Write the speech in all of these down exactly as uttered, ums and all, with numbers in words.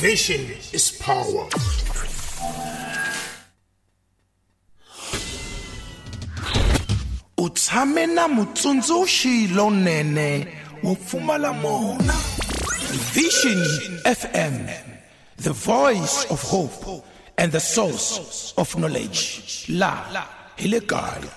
Vision is power. U tshame na mutsundzuxi lonene wo pfumala mona. Vision F M, the voice of hope and the source of knowledge. La hi le kaya.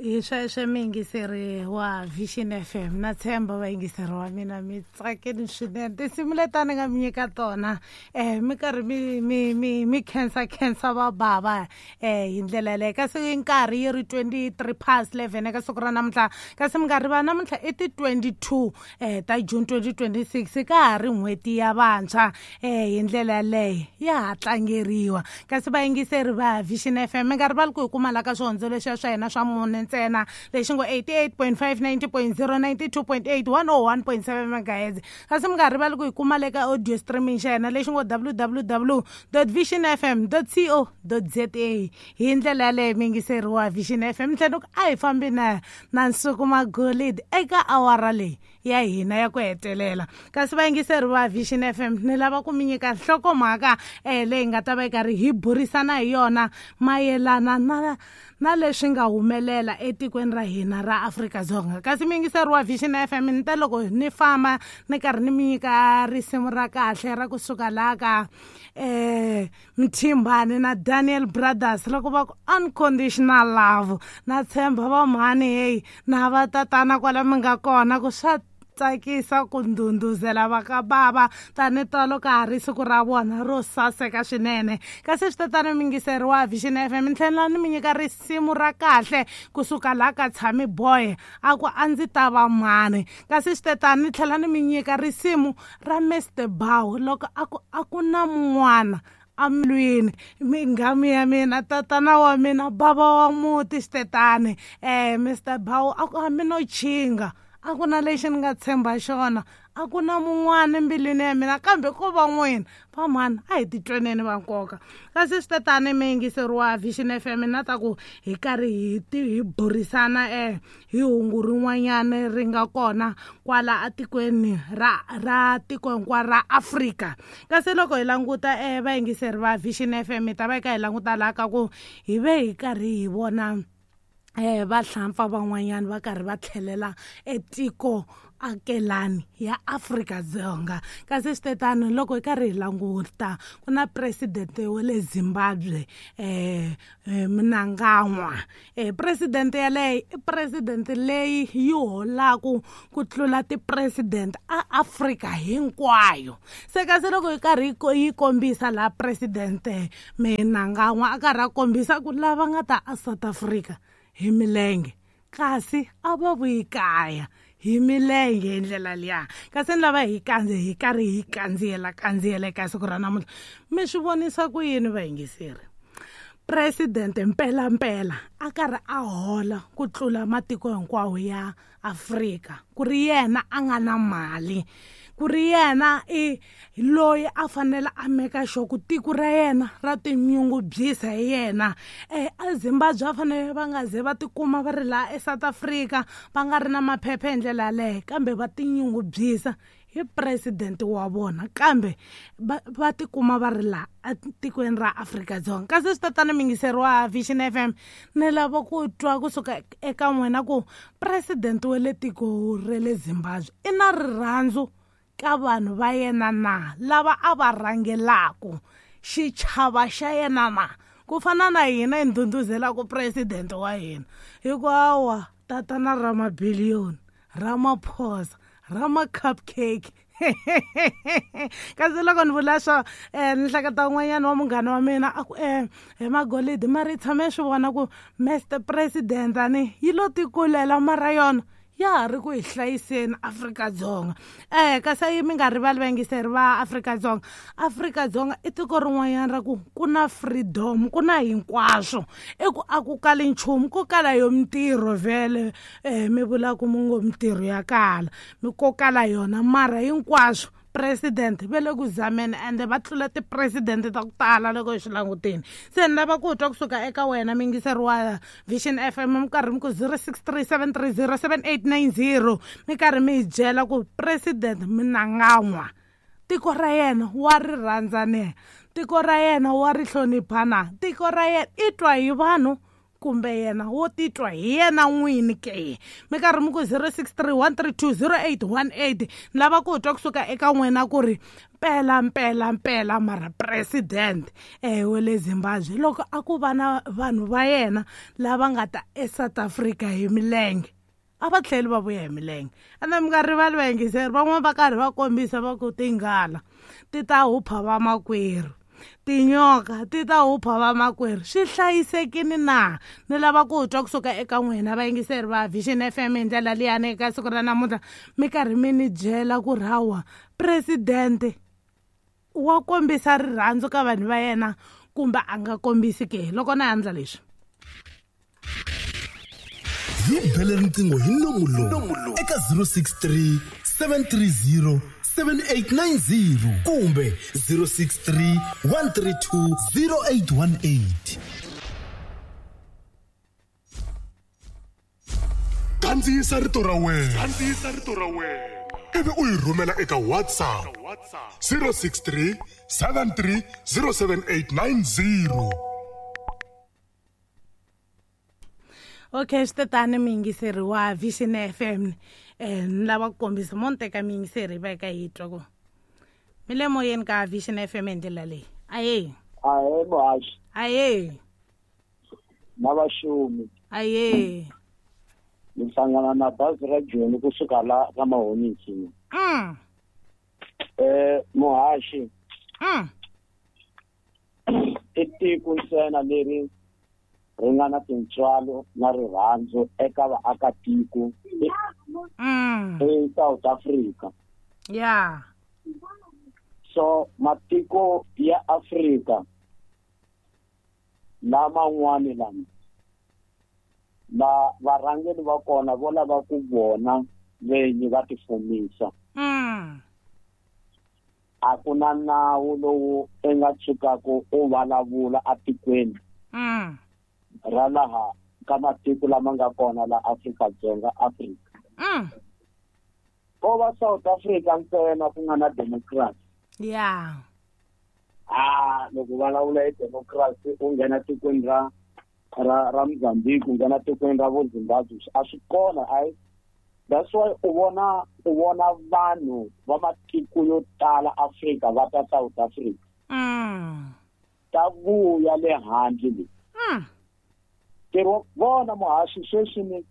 Hi sweswo muyingiseri wa Vision F M, na tshemba vayingiseri wa mina mi tsakeni swinene. Tinsimu leti a ni nga mi nyika tona um mi karhi mi mi mi mi khensa khensa va bava um hi ndlela yaleyo. Kasi nkarhi yi ri twenty-three past eleven eka siku ra namuntlha, kasi mi nga rivala namuntlha i ti twenty-two um ta June twenty twenty-six, ka ha ri n'hweti ya vantshwa um hi ndlela yaleyo ya ha tlangeriwa. Kasi vayingiseri va Vision F M mi nga rivali ku hi kuma la ka swihondzo leswiya swa hina swa mune ntsena, lexi ngo eighty-eight point five, ninety point zero, ninety-two point eight, one oh one point seven megahertz. Kasi mi nga rivali ku hi kuma le ka audio streaming xa hina lexi ngo w w w dot vision f m dot co dot z a. Hi ndlela yaleyo muyingiseri wa Vision F M, tlhela ku a hi fambi na na Nsuku Magolide eka awara leyi ya hina ya ku hetelela. Kasi vayingiseri va Vision F M, ni lava ku mi nyika nhlokomhaka um leyi nga ta va yi karhi hi burisana hi yona mayelana na na leswi nga humelela etikweni ra hina ra Afrika-Dzonga. Kasi muyingiseri wa Vision F M, ni ta loko ni famba ni karhi ni mi nyika risimu ra kahle ra kusuka laha ka um Mthimbani na Daniel Brothers loko va ku Unconditional Love. Na tshemba va mhani heyi na va tatana kwala mi nga kona ku swa tsakisa ku ndhundhuzela va ka bava tani tolo ka ha ri siku ra vona ro saseka swinene. Kasi swi tatana muyingiseri wa Vision F M, ni tlhela ni mi nyika risimu ra kahle kusuka laha ka Tshami Boy a ku a ndzi ta va mhani. Kasi swi tatana ni tlhela ni mi nyika risimu ra Mister Bow loko a ku a ku na mun'wana amlwini minghamu ya mina tatana wa mina bava wa muti xitetani um Mister Bow a ku hambi no chinga a ku na lexi ni nga tshemba xona, a ku na mun'wana embilwini ya mina kambe ko va n'wina va mhani a hi titweneni va nkoka. Kasi swi tatani muyingiseri wa Vision F M, na ta ku hi karhi hi ti hi burisana um hi hungu rin'wanyana ri nga kona kwala atikweni ra ra tiko hinkwaro ra Afrika. Kasi loko hi languta um vayingiseri va Vision F M, hi ta va hi kha hi languta laha ka ku hi ve hi karhi hi vona eh vahlampfa van'wanyana va karhi va tlhelela etiko akelani ya Afrika-Dzonga. Kasi swi tetano loko hi karhi hi languta ku na president wa le Zimbabwe eh Mnangagwa. Eh president yaleyo i president leyi yi holaku ku tlula ti-president a Afrika hinkwayo. Se kasi loko hi karhi yi kombisa laha president Mnangagwa a karhi a kombisa ku lava nga ta a South Africa hi milenge kasi a va vuyi kaya hi milenge hi ndlela liya. Kasi ni lava hi kandze hi karhi hi kandziyela kandziyela eka siku ra namuntlha, mi swi vonisa ku yini vayingiseri? President mpela mpela a karhi a hola ku tlula matiko hinkwawo ya Afrika, ku ri yena a nga na mali, ku ri yena i loyi a fanele a meka sure ku tiko ra yena ra tinyungubyisa hi yena. Eh a Zimbabwe va fanele va nga ze va tikuma va ri laha eSouth Africa va nga ri na maphepha hi ndlela yaleyo, kambe va tinyungubyisa hi president wa vona, kambe va va tikuma va ri laha etikweni ra Afrika-Dzonga. Kasi swi tatana muyingiseri wa Vision F M, ni lava ku twa kusuka eka n'wina ku president wa le tiko ra le Zimbabwe i na rirhandzu ka vanhu va yena na lava a va rhangelaku xichava xa yena na, ku fana na hina hi ndhundhuzelaku president wa hina hikuva tatana ra mabiliyoni ra maphosa ra ma-cupcake. Kasi loko ni vula swo um ni hleketa un'wanyana wa munghana wa mina a ku um hi Magolide mara yi tshame swi vona ku Mister President ani yi lo tikulela mara yona ya ha ri ku hi hlayiseni Afrika-Dzonga. Eh kasi mi nga rivali vayingiseri va Afrika-Dzonga, Afrika-Dzonga i tiko rin'wanyana ra ku ku na freedom, ku na hinkwaswo, i ku a ku kali nchumu, ku kala yo mintirho vhele um mi vula ku mi ngo mintirho ya kala mi ko kala yona, mara hinkwaswo president va le ku zameni ende va tlula ti-president ta ku tala loko hi swi langutini. Se ni lava ku twa kusuka eka wena muyingiseri wa Vision F M, mi karhi mi ku zero six three seven three zero seven eight nine zero, mi karhi mi hi byela ku president Mnangagwa Tiko ra yena wa ri rhandza ne, tiko ra yena wa ri hlonipha na, tiko ra yena i twa hi vanhu kumbe yena wo titwa hi yena n'wini ke. Mi karhi mi ku zero six three one three two zero eight one eight. Ni lava ku twa kusuka eka n'wina ku ri mpela mpela mpela mara president eh wa le Zimbabwe loko a ku va na vanhu va yena lava nga ta eSouth Africa hi milenge, a va tlheli va vuya hi milenge. Ene mi nga rivali vayingiseri, van'wana va karhi va kombisa va ku tinghala ti ta hupha vamakwerhu, tinyoka ti ta hupha vamakwerhu. Swi hlayisekile na? Ni lava ku twa kusuka eka n'wina vayingiseri va Vision F M hi ndlela liyani eka siku ra namuntlha, mi karhi mi ni byela ku ri hawa president wa kombisa rirhandzu ka vanhu va yena kumbe a nga kombisi ke. Loko na endla leswi, hi bele riqingho hi nomu lowu eka zero six three seven three zero seven eight nine zero kumbe zero six three one three two zero eight one eight. Kandziyisa rito ra wena, kandziyisa rito ra wena ivi u yi rhumela eka WhatsApp zero six three seven three zero seven eight nine zero. Okay, swi miyingiseri wa Vision F M. Eh ni lava ku kombisa mo ni teka miyingiseri va eka yi twa ku mi le moyeni ka Vision F M hi ndlela leyi. Aye. Aye muhaxi. Aye. Na vaxumi. Aye. Ni hlangana na bazi ra Joni kusuka la ka Mahonisi. Mm. Eh muhaxi. Mm. I tiko ntsena leri ri nga na tintswalo na rirhandzu eka vaakatiko mm. eSouth Africa. Yeah. So matiko ya Afrika laman'wani lama la varhangeri va kona vo lava ku vona venyi va tifumisa. Mm. A ku na nawu lowu i nga tshukaka u vulavula atikweni mm. ra laha ka matiko lama nga kona la Afrika-Dzonga Afrika. Mm. Ko va South Africa ntsena ku nga na democracy. Yeah. Ah, loko vulavula hi democracy u nghena tikweni ra ra ra Mozambique, u nghena tikweni ra vo Zimbabwe, a swi kona. Ai, that's why u vona u vona vanhu va matiko yo tala Afrika va ta South Africa. Mm. Ta vuya le handle le. Mm. Ntirho vona muhaxi sweswi ni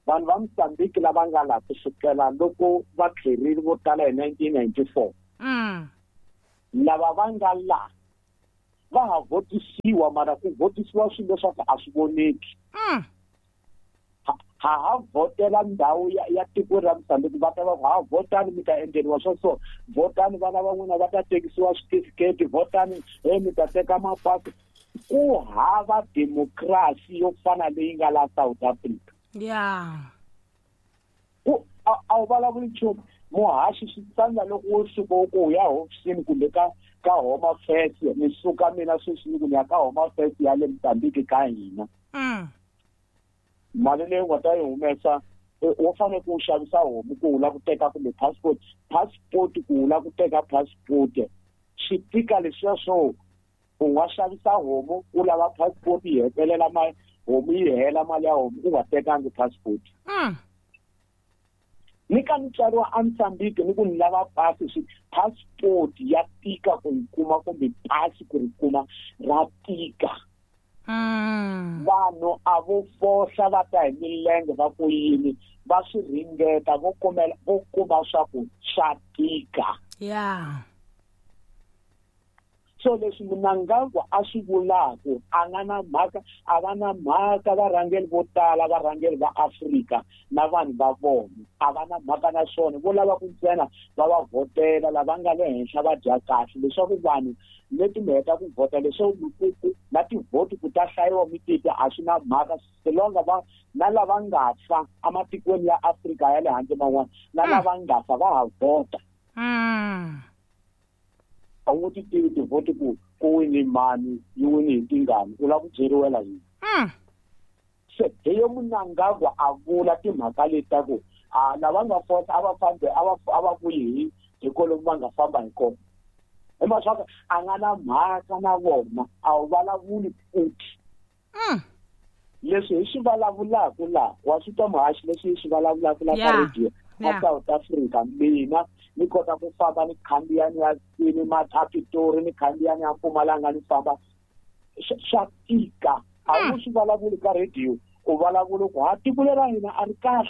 vanhu va Mozambique lava nga laha kusukela loko va tlherile vo tala hi nineteen ninety-four. Mm. Lava va nga laha va ha votisiwa, mara ku votisiwa swilo leswaku a swi voneki. Mm. Ha ha vhotela ndhawu ya, ya tiko ra Mozambique, va ta va ku ha vhotani mi ta endleriwa swo so, vhotani vana va n'wina va ta tekisiwa switifiketi, vhotani he mi ta teka mapasi. Ku hava democracy yo fana leyi nga la South Africa. Yeah. Ku a wu vulavuli nchumu muhaxi, swi tsandza loko wo suka u ku u ya hofisini kumbe ka ka Home Affairs. Ni suka mina sweswi ni ku ni ya ka Home Affairs ya le Mozambique ka hina. Mm. Mali leyi u nga ta yi humesa wo fanele ku xavisa homu ku u lava ku teka kumbe passport, passport ku u lava ku teka passport swi tika leswiya swo u nga xavisa homu u lava passport yi hetelela mali homu yi hela mali ya homu u nga tekangi passport. Mm. Ni ka ni tswariwa eMozambique ni ku ni lava pasi, swi passport ya tika ku yi kuma kumbe pasi ku ri kuma ra tika. Mm. Vanhu a vo fohla va ta hi milenge va ku yini, va swi ringeta vo kumela vo kuma swa ku swa tika. Yeah. So leswi Mnangagwa a swi vulaka a nga na mhaka, a va na mhaka varhangeri vo tala, varhangeri va Afrika na vanhu va vona a va na mhaka na swona. Vo lava ku ntsena va va vhotela lava nga le henhla va dya kahle, leswaku vanhu leti mi heta ku vhota leswaku na tivhoti ku ta hlayiwa mi titwa a swi na mhaka. Silonga va na lava nga fa ematikweni ya Afrika ya le handle man'wana na lava nga fa va ha vhota. Mm. A wu ti tivi tivhoti ku ku wini mani yi wini hi tingani, u lava ku byeriwela yini? Mm. Se hi yo Mnangagwa a vula timhaka leti ta ku a lava nga fota a va fambe a va a va vuyi hi hi kolomu va nga famba hi kona hi mhaka a nga na mhaka na vona a wu vulavuli futhi leswi hi swi vulavulaka laha wa swi twa muhaxi leswi hi swi vulavulaka laha ka radio a South Africa mina ni kota ku famba ni khandziya ni ya kwini Pitori ni khandziya ni ya Mpumalanga ni famba swa tika a wu swi vulavuli ka radio u vulavula ku ha tiko lera hina a ri kahle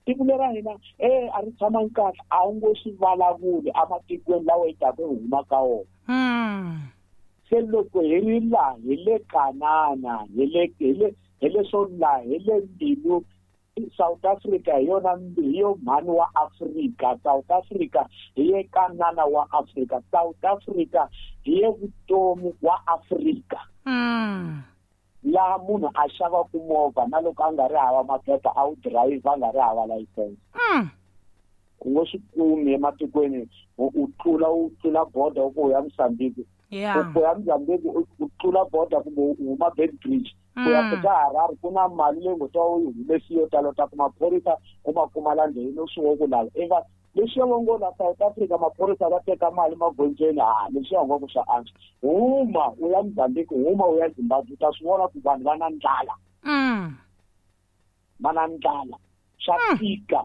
tiko lera hina eh a ri tshamangi kahle a wu ngo swi vulavuli ematikweni lawa hi taka hi huma ka wona se loko hi ri laha hi le Kanana hi le hi le hi leswo laha hi le mbilu South Africa hi yona hi yo mhani wa Afrika South Africa hi ye Kanana wa Afrika South Africa hi ye vutomi wa Afrika laha munhu a xavaku movha na loko a nga ri hava maphepha a wu dirayivha a nga ri hava layisense u ngo swi kumi ematikweni u tlula u tlula border u ku ya Mozambique u ya Mozambique u tlula border kumbe u huma Beitbridge ku ya fika Harare ku na mali leyi ngo ta u yi humesi yo tala u ta ku maphorisa u ma kuma la ndleleni u swi wo ku lava i va leswiya va ngo la South Africa maphorisa va teka mali magondzweni ha leswiya ngo ku swa antswa huma u ya Mozambique huma u ya Zimbabwe u ta swi vona ku vanhu va na ndlala va na ndlala swa tika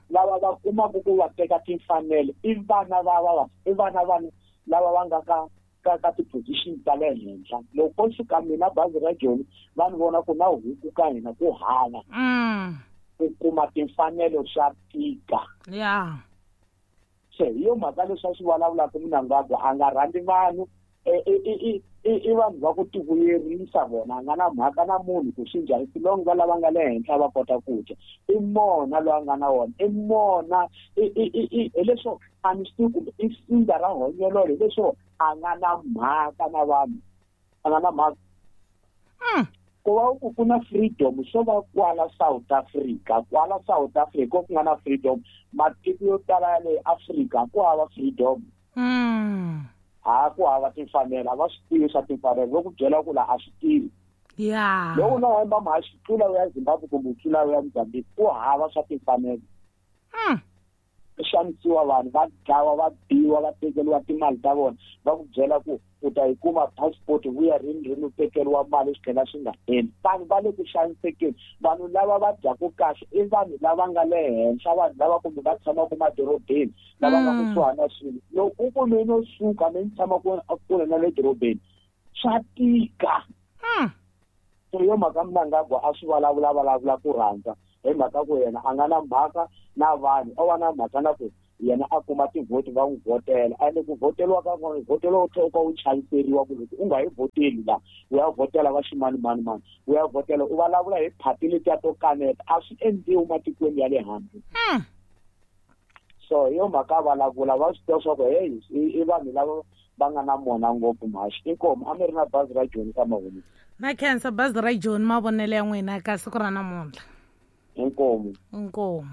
lava va kumaka ku va teka timfanelo i vana va va i vana vanhu lava va nga ka ka ka ti-position ta le henhla loko ko suka mina bazi ra Joni va ni vona ku na huku ka hina ku hava ku kuma timfanelo swa tika yeah se hi yo mhaka leswi a swi vulavulaka Mnangagwa a nga rhandzi vanhu i vanhu va ku tivuyerisa vona a nga na mhaka na munhu ku swi njhani silongo va lava nga le henhla va kota ku dya i mona loyi a nga na wona i mona hileswo a ni swi tivi kumbe i sindza ra honyololo hileswo a nga na mhaka na vanhu a nga na mhaka ku va ku ku na freedom swo va kwala South Africa kwala South Africa ku nga na freedom matiko yo tala ya le Afrika ku hava freedom ha ku hava timfanelo a va swi tivi swa timfanelo vo ku byela ku la a swi tivi yeah loko na hemba mhaxi tlula u ya Zimbabwe kumbe u tlula u ya Mozambique ku hava swa timfanelo xanisiwa vanhu va dlawa va biwa va tekeriwa timali ta vona va ku byela ku u ta yi kuma passport vuya rini rini u tekeriwa mali swi tlhela swi nga heli vanhu va le ku xanisekeni vanhu lava va dyaku kahle i vanhu lava nga le henhla vanhu lava kumbe va tshamaka madorobeni lava nga kusuhani na swilo loko u ku mina no suka mi ni tshama kule na le dorobeni swa tika so yo mhaka Mnangagwa a swi vulavula vulavula ku rhandza hi mhaka ku yena a nga na mhaka na vanhu o va na mhaka na ku yena a kuma tivhoti va n'wi vhotela ende ku vhoteliwa ka kona vhoteliwa u tlhela u ka u chaviseriwa ku loko u nga yi vhoteli la u ya vhotela va ximanimani u ya vhotela u vulavula hi phati letiya to kaneta a swi endliwi matikweni ya le handle so hi yo mhaka vulavula va swi tiva swa ku heyi i vanhu lava va nga na mona ngopfu mhaxi inkomu a mi ri na bazi ra Joni ka mavonelo na khensa bazi ra Joni mavonelo ya n'wina ka siku ra namuntlha inkomu inkomu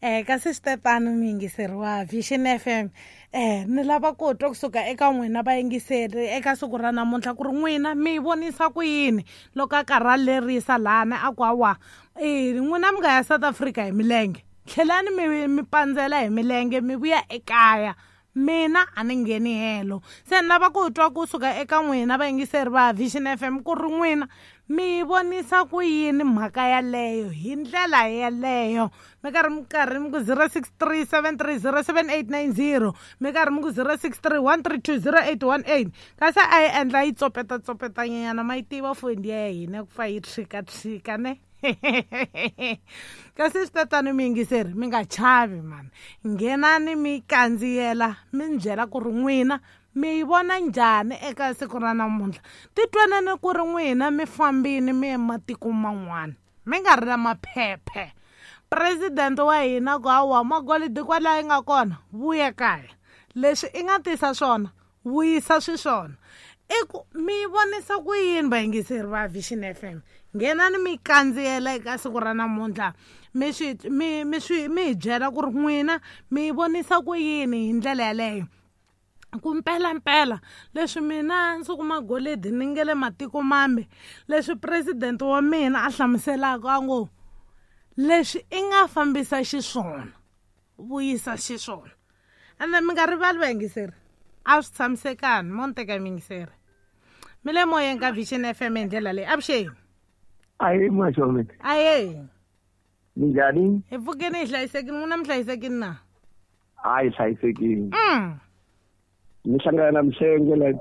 eh kasi swi mi yingiseri wa Vision F M eh ni lava ku twa kusuka eka n'wina vayingiseri eka siku ra namuntlha ku ri n'wina mi vonisa ku yini loko a karhi a lerisa lana a ku hawa eh n'wina mi nga ya South Africa hi milenge tlhelani mi mi pandzela hi milenge mi vuya ekaya mina a ni ngheni helo se ni lava ku twa kusuka eka n'wina vayingiseri va Vision F M ku ri n'wina mi vonisa ku yini mhaka yaleyo hi ndlela yaleyo mi karhi mi karhi mi ku zero six three seven three zero seven eight nine zero mi karhi mi ku zero six three one three two zero eight one eight kasi a yi endla yi tsopeta tsopetanyana ma yi tiva foni ya hina ku fa yi tshika tshika ne kasi swi tatani mi yingiseri mi nga chavi mani nghenani mi kandziyela mi ni byela ku ri n'wina mi yi vona njhani eka siku ra namuntlha titwaneni ku ri n'wina mi fambini mi ye matiko man'wana mi nga ri na maphephe president wa hina ku hawa magolidi kwalaho yi nga kona vuya kaya leswi i nga tisa swona vuyisa swiswona i ku mi vonisa ku yini vayingiseri va Vision F M nghenani mi kandziyela eka siku ra namuntlha mi swi mi mi swi mi hi byela ku ri n'wina mi vonisa ku yini hi ndlela yaleyo ku mpelampela leswi mina ndzi kuma golidi ni nge le matiko mambe leswi president wa mina a hlamuselaka a ngo leswi i nga fambisa xiswona vuyisa xiswona. Ende mi nga rivali vayingiseri, a swi tshamisekani mo ni teka miyingiseri. Mi le moyeni ka Vision F M hi ndlela leyi. Avuxeni. Ahe maxome. Ahe. Minjhani? Hi pfukeni hi hlayisekile, n'wina mi hlayisekile na? Hayi hlayisekile. Mm. Ni hlangana na Mhlengwe la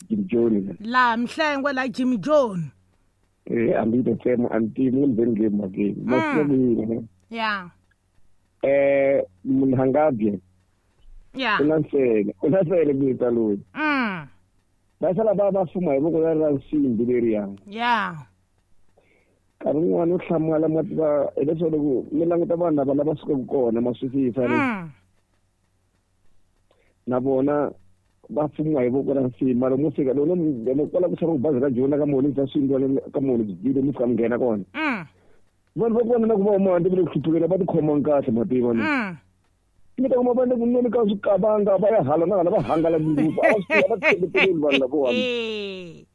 Jimmy John. La Mhlengwe la Jimmy John. Eh ambi to tsema anti mun venge mage. Masiku. Yeah. Eh munhangabye. Yeah. Unasele, unasele bita loyi. Mm. Va sala va va fuma hi voko ra nsimbi leriya. Yeah. Nkarhi wun'wani u hlamala ma tiva hileswaku loko mi languta vanhu lava lava sukaka kona ma swisisa ni. Na vona va fumiwa hi voko ra nsimbi mara mo fika loko loko kwala ku tshama bazi ra Joni ka moni bya swindlwana ka moni byi mi fika mi nghena kona. Vanhu va kona na ku va huma handle va le ku hluphukeni va tikhomanga kahle ma tiva ni. Mi ta kuma va le ku nweni ka swikavanga va ya hala na hala va hangalaka ngopfu a va swi va tshembeteleli vanhu lavawani.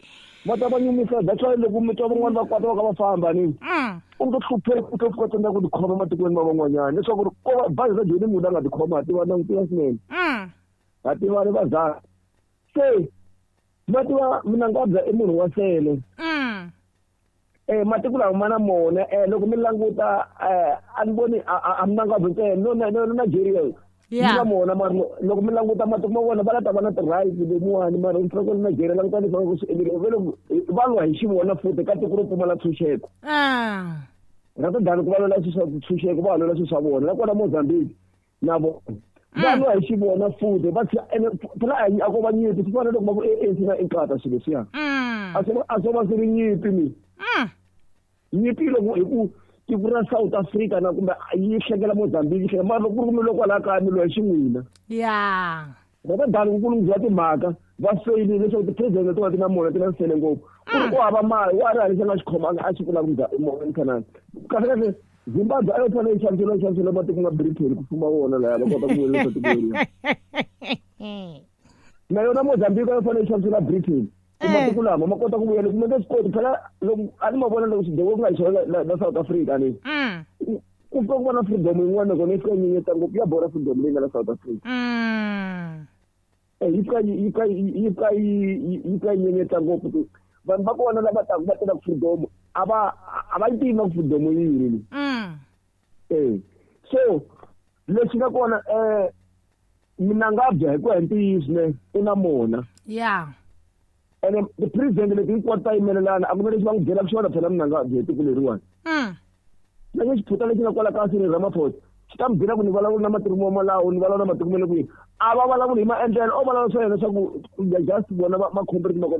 Va ta va nyumisa that's why loko mi twa van'wani va kwata va ka va famba ni. U nge hlupheki u ta fika tsandzeka ku tikhoma matikweni ma van'wanyana leswaku ri ko va bazi ra Joni munhu a nga tikhoma ha tiva langutiwa swinene. Ha tivani va za. Se va tiva Mnangagwa i munhu wa sele. Eh matiko lawa ma na mona eh loko mi languta eh a ni voni a Mnangagwa ntsena no no Nigeria. Yeah. Yi mona mara loko mi languta matiko ma vona va la ta va na ti-rights lemuwani mara mi fanele Nigeria languta leswi va swi endlile vele va lwa hi xivona futhi ka tiko ro pfumala ntshunxeko. Ah. Ra ta dani ku va lwela swilo swa ntshunxeko va lwela swilo swa vona nakona Mozambique na vona va lwa hi xivona futhi va phela a ko va nyimpi swi fana loko va ku A N C na Inkatha swilo leswiya. A swo a swo va swi ri nyimpi ni. Nyimpi loko hi ku tiko ra South Africa na kumbe yi hlekela Mozambique yi hlekela mara loko ku ri ku mi loko kwala kaya mi lwa hi xin'wina. Yeah. Va ta dani ku lunghisiwa timhaka va feyilile leswaku ti-president leti nga ti na mona ti na nsele ngopfu. Ku ri ku hava mali wa ri hava lexi a nga xi khomanga a xi vulaka Mzanani. Kahle kahle Zimbabwe a yo fanele yi xaviseriwa yi xaviseriwa matiko ma Britain ku fuma wona laya va kota ku vuyerisa tiko leriya. Na yona Mozambique a yo fanele yi xaviseriwa Britain. Matiko lama ma kota ku vuyela kumbe nge swi koti phela loko a ni ma vona loko swidewo ku nga hi xona la la South Africa ni. Ku fika ku va na freedom yin'wana nakona yi fika yi nyenyeta ngopfu ya borha freedom leyi nga la South Africa. Eh yi fika yi fika yi fika yi fika yi nyenyeta ngopfu vanhu va kona lava taka va tela freedom a va a va yi tivi na ku freedom yi yini. Eh so lexi nga kona eh Mnangagwa hi ku ya hi ntiyiso ne u na mona. Yeah. Ene the president leti hinkwato ta yimelelana a ku na lexi va n'wi byelaka xona phela Mnangagwa hi tiko leriwani. Na nge xiphuta lexi nga kwala ka Cyril Ramaphosa xi ta mi byela ku ni vulavula na matiko ma Malawi ni vulavula na matiko ma le kwihi a va vulavuli hi maendlelo o vulavula swa yena swa ku just vona ma ma kota